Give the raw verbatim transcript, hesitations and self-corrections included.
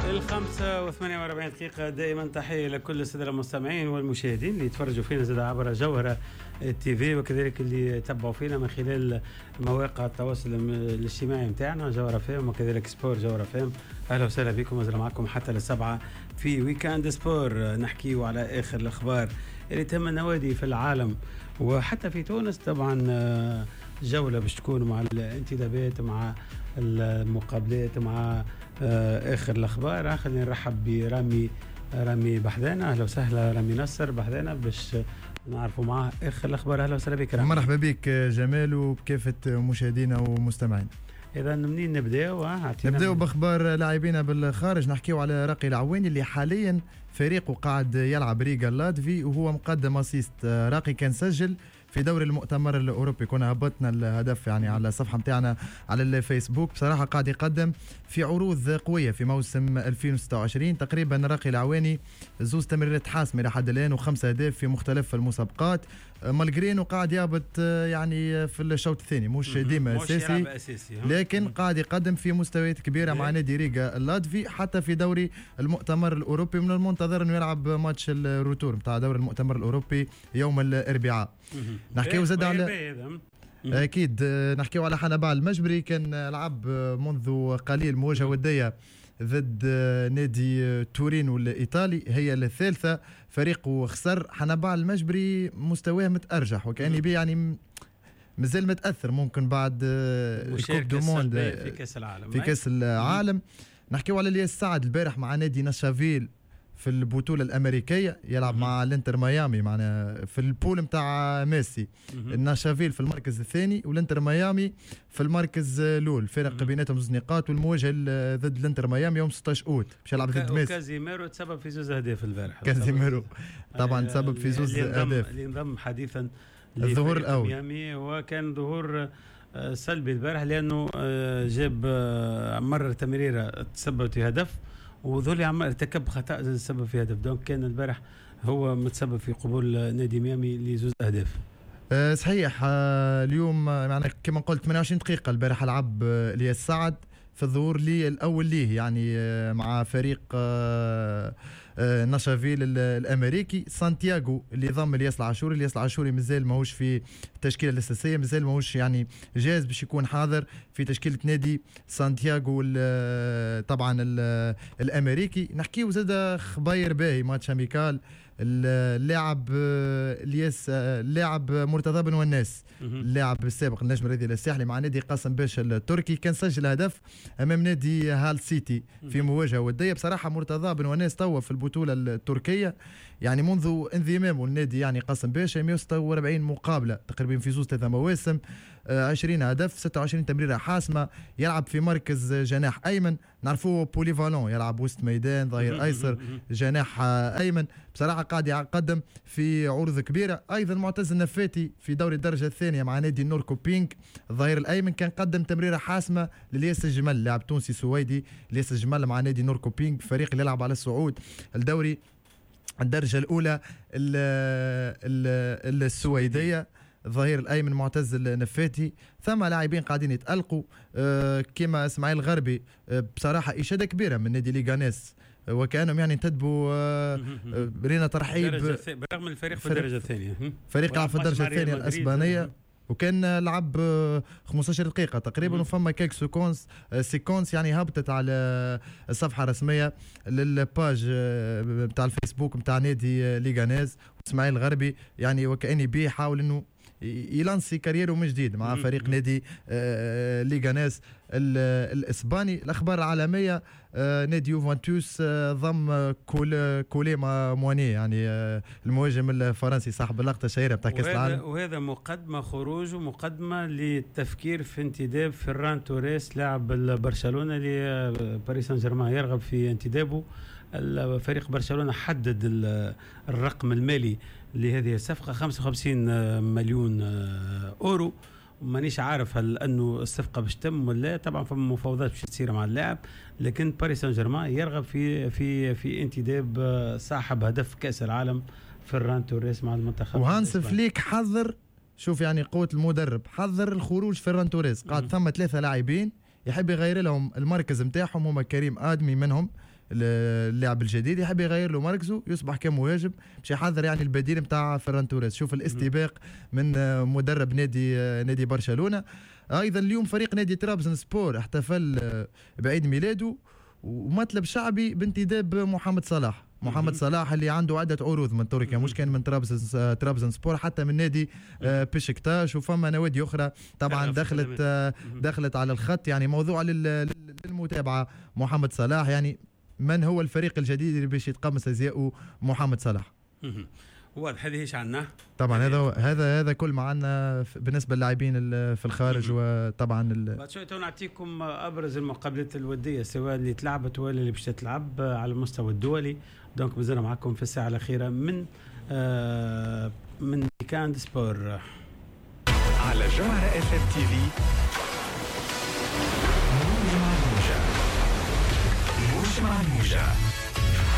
الخمسة وثمانية وأربعين دقيقة. دائما تحية لكل السادة المستمعين والمشاهدين اللي يتفرجوا فينا زاد عبر جوهرة تي في، وكذلك اللي يتبعوا فينا من خلال مواقع التواصل الاجتماعي نتاعنا جوهرة فام وكذلك sport جوهرة فام. أهلا وسهلا بكم، مازال معكم حتى للسبعة في week-end sport، نحكيو على آخر الأخبار اللي تهم النوادي في العالم وحتى في تونس. طبعا جولة باش تكون مع الانتدابات، مع المقابلات، مع اخر الاخبار. خلينا نرحب برامي رامي بحذانا. اهلا وسهلا رامي نصر بحذانا باش نعرفوا معاه اخر الاخبار. اهلا وسهلا بك رامي. مرحبا بك جمال وبكافه مشاهدينا ومستمعينا. اذا منين نبداو؟ نبداو باخبار لاعبينا بالخارج. نحكيو على راقي العواني اللي حاليا فريقه قاعد يلعب ريغا اللاتفي وهو مقدم assist. راقي كان سجل في دوري المؤتمر الاوروبي، كنا هبطنا الهدف يعني على الصفحة نتاعنا على الفيسبوك. بصراحة قاعد يقدم في عروض قوية في موسم ألفين وستة وعشرين تقريبا. راقي العواني زوز تمريرات حاسمة لحد الان وخمسة اهداف في مختلف المسابقات، malgré انه قاعد يهبط يعني في الشوط الثاني مش ديما اساسي، لكن قاعد يقدم في مستويات كبيرة مع نادي ريغا اللاتفي حتى في دوري المؤتمر الاوروبي. من المنتظر انه يلعب ماتش ال retour نتاع دوري المؤتمر الاوروبي يوم الاربعاء. نحكيو زاد على اكيد نحكيو على حنبعل المجبري، كان لعب منذ قليل مواجهة وديه ضد نادي تورينو الايطالي، هي الثالثة، فريقه خسر. حنبعل المجبري مستواه متارجح وكان بيه يعني مازال متاثر ممكن بعد ال coupe du monde في كاس العالم. في كاس العالم نحكيو على الياس سعد البارح مع نادي نشافيل في البطولة الأمريكية، يلعب مع الانتر ميامي معنا في ال poule متاع ميسي. الناشافيل في المركز الثاني والانتر ميامي في المركز الأول، فرق بيناتهم زوج نقاط، والمواجهة ضد الانتر ميامي يوم ستة عشر أوت باش يلعب ضد ميسي. كازيميرو تسبب في زوز أهداف البارح. كازيميرو طبعا تسبب في زوز أهداف، اللي انضم حديثا الظهور الأول ميامي، وكان ظهور سلبي البارح لأنه جاب مرة تمريرة تسببت في هدف، وذولي عم ارتكب خطأ تسبب في هدف. donc كان البارح هو متسبب في قبول نادي ميامي لزوز أهداف. أه صحيح. أه اليوم يعني كما قلت ثمانية وعشرين دقيقة البارح لعب الياس سعد في الظهور لي الأول ليه يعني مع فريق ناشافيل الأمريكي. سانتياغو اللي ضم الياس العاشوري، الياس العاشوري مازال ماهوش في التشكيلة الأساسية، مازال ماهوش يعني جاهز باش يكون حاضر في تشكيلة نادي سانتياغو طبعا الأمريكي. نحكيو زاد خبير باهي match amical، اللاعب الياس اللاعب مرتضى بن وناس اللاعب السابق النجم الرياضي الساحلي مع نادي قاسم باشا التركي، كان سجل هدف امام نادي هال سيتي في مواجهة وديه. بصراحة مرتضى بن وناس توا في البطولة التركية يعني منذ انضمامه للنادي يعني قاسم باشا مئة وستة وأربعين مقابله تقريبا في زوز ثلاثة مواسم، عشرين هدف، ستة وعشرين تمريره حاسمة، يلعب في مركز جناح ايمن، نعرفوه polyvalent، يلعب وسط ميدان، ظهير ايسر، جناح ايمن. بصراحة قاعد يقدم في عروض كبيرة. ايضا معتز النفاتي في دوري الدرجة الثانية مع نادي نوركوبينغ الظهير الايمن، كان قدم تمريره حاسمة للياس الجمل لاعب تونسي سويدي، لياس الجمل مع نادي نوركوبينغ فريق اللي يلعب على الصعود الدوري الدرجة الاولى السويدية. الظهير الايمن معتز النفاتي. ثم لاعبين قاعدين يتالقوا آه كما اسماعيل الغربي، آه بصراحة اشاده كبيرة من نادي ليغانيس، وكانهم يعني انتدبوا آه رينا ترحيب برغم الفريق في الدرجة الثانية، فريق لعب في الدرجة الثانية الاسبانية وكان لعب خمسة عشر دقيقة تقريبا، وفما quelques séquences séquences يعني هبطت على الصفحة الرسمية لل page نتاع الفيسبوك نتاع نادي ليغانيز. اسماعيل الغربي يعني وكأني بيه حاول انه يلانسي carrière من جديد مع فريق نادي ليغانيس الاسباني. الاخبار العالمية، نادي يوفنتوس ضم كول كولي مواني يعني المهاجم الفرنسي صاحب اللقطة الشهيرة بتاع كاس العالم، وهذا مقدمه خروج ومقدمة للتفكير في انتداب فيران توريس لاعب برشلونة لباريس سان جيرمان يرغب في انتدابه. الفريق برشلونة حدد الرقم المالي لهذه الصفقة خمسة وخمسين مليون أورو، مانيش عارف هل أنه الصفقة باش تم ولا، طبعا فما مفاوضات باش تصير مع اللاعب، لكن باريس سان جيرمان يرغب في في في انتداب صاحب هدف كأس العالم فيران توريس مع المنتخب. وهانس فليك حذر، شوف يعني قوة المدرب، حذر الخروج فيران توريس، قال ثم ثلاثة لاعبين يحب يغير لهم المركز نتاعهم، هما كريم آدمي منهم اللاعب الجديد يحب يغير له مركزه يصبح كمهاجم باش يحضر يعني البديل نتاع فيران توريس. شوف الاستباق من مدرب نادي نادي برشلونة. ايضا اليوم فريق نادي ترابزون سبور احتفل بعيد ميلاده ومطلب شعبي بانتداب محمد صلاح. محمد صلاح اللي عنده عدة عروض من تركيا، مش كان من ترابزن ترابزن سبور، حتى من نادي بشكتاش، وفما نوادي أخرى طبعا دخلت دخلت على الخط. يعني موضوع للمتابعة محمد صلاح، يعني من هو الفريق الجديد اللي باش يتقمص ازياءه محمد صلاح؟ واضح. هذه ايش عندنا؟ طبعا هذا هذا هذا كل ما عندنا بالنسبة للاعبين في الخارج. وطبعا بعد شوي نعطيكم ابرز المقابلات الودية سواء اللي تلعبت ولا اللي باش تتلعب على المستوى الدولي. donc مازلنا معكم في الساعة الاخيرة من آه من Week-end Sport على جوهرة اف ام تي في. موج مع الموجة، موج مع الموجة.